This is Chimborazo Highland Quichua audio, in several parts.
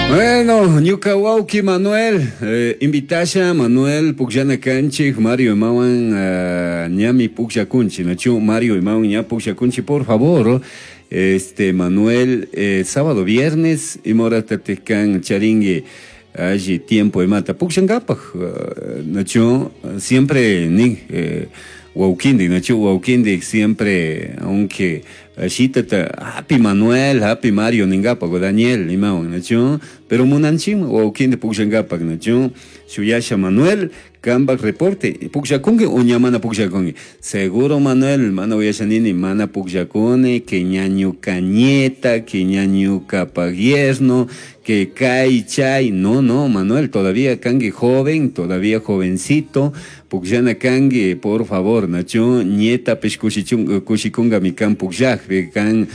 Bueno, ñuka wawki Manuel, invitasha Manuel pukllana kanchik Mario imawan ñami pukllakunchik, nachu Mario imawan ña pukllakunchik, por favor, este Manuel, sábado, viernes, ima horatatik kan charinki alli tiempo imata pukllankapak, nachu siempre nin wawkindik, nachu wawkindik siempre, aunque shitata hapi Manuel, hapi Mario ninkapak o Daniel imawan, nachu, pero munanchikmi wawkindik pukllankapak, nachu, shuyasha Manuel, kampak reporte, pukllakunki o ña mana pukllakunki, seguro Manuel, mana uyasha nini, mana pukllakuni, que ña ñuka nieta, que ña ñukapak yerno, que kay chay, no, no, Manuel, todavía kanki joven, todavía jovencito, pukllana kanki, por favor, nachu, nietapish kushikunkami kan pukllakpi, kan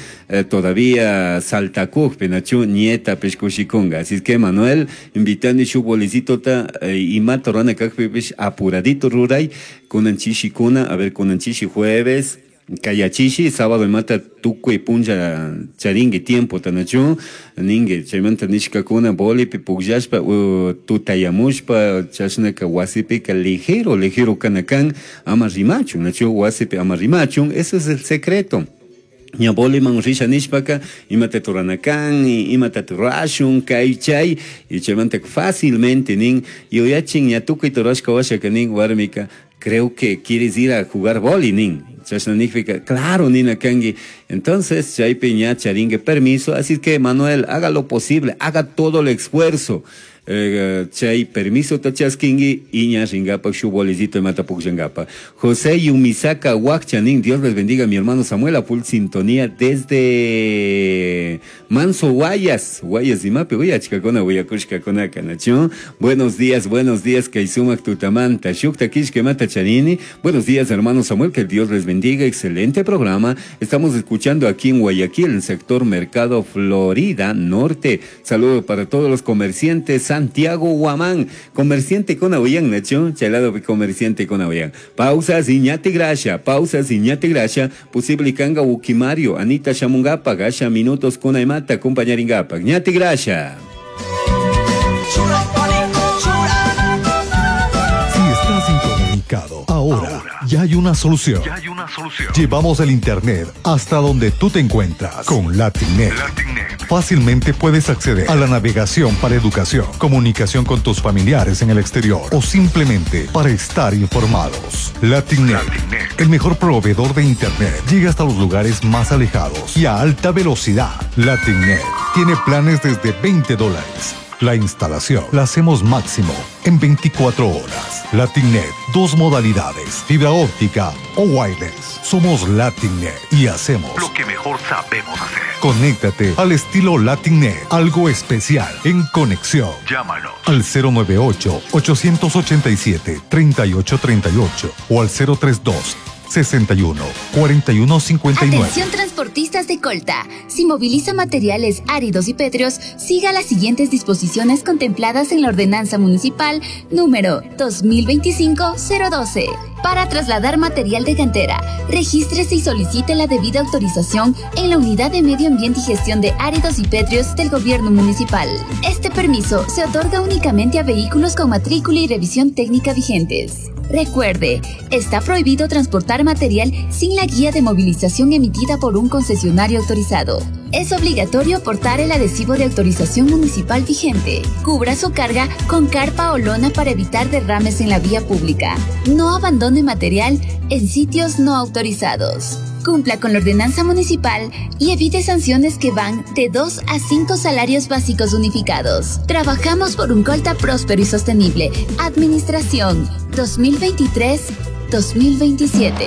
todavía saltakukpi, nachu, nietapish kushikunga. Así es que Manuel, invitani shuk bolicitota, imata rurana kakpipish apuradito ruray, kunan chishikuna, a ver, kunan chishi jueves, kayachishi, sábado imata tukuy punlla charinki tiempo nachu, ninki chaymanta nishkakuna bolipi pukllashpa, tutayamushpa, chashnaka wasipika ligero, ligero kana kan, ama rimachun, nachu, wasipi ama rimachun, ese es el secreto. Ña boliman risha nishpaka, imata turana kan, imata turashun, kay chay, y chaymanta fácilmente nin, yuyachin ña tukuy turashka washaka nin, warmika, creo que quieres ir a jugar boli, nin. Chashna nijpika, claro, nina kanki. Entonces, chaypi ña charingue permiso. Así que, Manuel, haga lo posible, haga todo el esfuerzo. Chay permiso tachaskingi y ña ringapak shu bolicito imata pukllangapa. José Yumisaka Huacchanin, Dios les bendiga, mi hermano Samuel, a full sintonía desde Manso Guayas, Guayas imapi, uyachkakuna, uyakushkakuna kanachu. Buenos días, buenos días, Kaisumak Tutamanta, Shukta Kishkemata Chanini. Buenos días, hermano Samuel, que Dios les bendiga, excelente programa. Estamos escuchando aquí en Guayaquil, en el sector Mercado Florida Norte. Saludos para todos los comerciantes, Santiago Guamán, comerciante con Aoyán, Nacho, chalado comerciante con Aoyán. Pausa, Iñati Gracia, pausa, Iñati Gracia, posible Kanga Ukimario, Anita Shamungapa, Gasha Minutos con Aymata, compañeringapa, Ñati Gracia. Si estás incomunicado, ahora ya hay una solución. Ya hay una solución. Llevamos el internet hasta donde tú te encuentras con LatinNet. LatinNet. Fácilmente puedes acceder a la navegación para educación, comunicación con tus familiares en el exterior o simplemente para estar informados. LatinNet, LatinNet. el mejor proveedor de internet, llega hasta los lugares más alejados y a alta velocidad. LatinNet tiene planes desde veinte dólares. La instalación la hacemos máximo en 24 horas. LatinNet, dos modalidades, fibra óptica o wireless. Somos LatinNet y hacemos lo que mejor sabemos hacer. Conéctate al estilo LatinNet, algo especial en conexión. Llámanos al cero nueve ocho, ochocientos ochenta y siete, treinta y ocho treinta y ocho o al cero tres dos, 61, 41, 59. Atención transportistas de Colta. Si moviliza materiales áridos y pétreos, siga las siguientes disposiciones contempladas en la Ordenanza Municipal número 2025-012. Para trasladar material de cantera, regístrese y solicite la debida autorización en la Unidad de Medio Ambiente y Gestión de Áridos y Pétreos del Gobierno Municipal. Este permiso se otorga únicamente a vehículos con matrícula y revisión técnica vigentes. Recuerde, está prohibido transportar material sin la guía de movilización emitida por un concesionario autorizado. Es obligatorio portar el adhesivo de autorización municipal vigente. Cubra su carga con carpa o lona para evitar derrames en la vía pública. No abandone material en sitios no autorizados. Cumpla con la ordenanza municipal y evite sanciones que van de 2 a 5 salarios básicos unificados. Trabajamos por un Colta próspero y sostenible. Administración 2023-2027.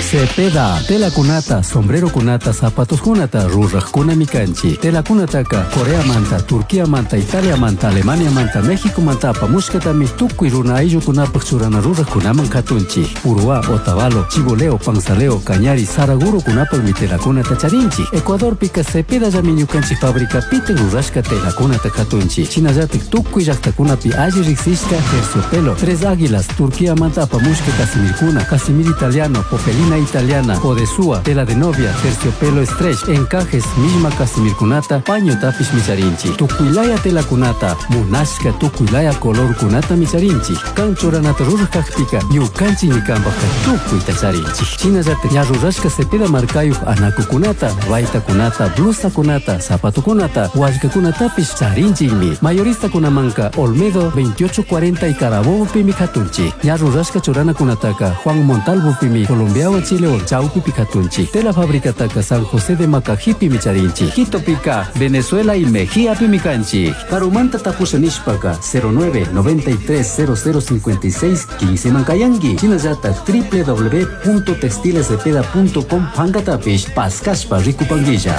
Cepeda, tela cunata, sombrero cunata, zapatos cunata, ruraj cuna micanchi, tela cunataca, Corea manta, Turquía manta, Italia manta, Alemania manta, México manta, apamushkatami, tukuy runa ayllu kunapaj churana ruraj kunaman katunchi, Uruá, Otavalo, Chiboleo, Panzaleo, Cañari, Saraguro kunapaj mi tela cunata charinchi, Ecuador pica Cepeda yamiñukanchi fábrica piten rurashka tela cunata katunchi, Chinayatik tukuy llaqtakunapi alli riqsishka terciopelo, Tres Águilas, Turquía manta, apamushka Casimir cuna, Casimir italiano, Popelina Lana italiana, odesua, tela de novia, terciopelo stretch, encajes, millma casimirkunata, pañotapish micharinchik. Tukuylaya telakunata, munashka tukuylaya colorkunatami charinchik. Kan churanata ruraj kakpika, ñukanchikmi kanpajka tukuyta charinchik. Shinallatak ña rurashka Cepeda markayuq anakukunata, baytakunata, blusakunata, zapatokunata, wallkakunatapish charinchikmi. Mayoristakunamanka Olmedo 2840 y Carabobopimi katunchik. Ña rurashka churanakunataka Juan Montalvopimi Colombiawan Chilewan chawpipi katunchik. Tela fabricataka San José de Macajipimi charinchik. Quitopika, Venezuela y Mejíapimi kanchik. Karumanta tapusha nishpaka 09 93 0056 15 mankayanki. Shinallatak www.textilescepeda.com pankatapish paskashpa rikupankilla.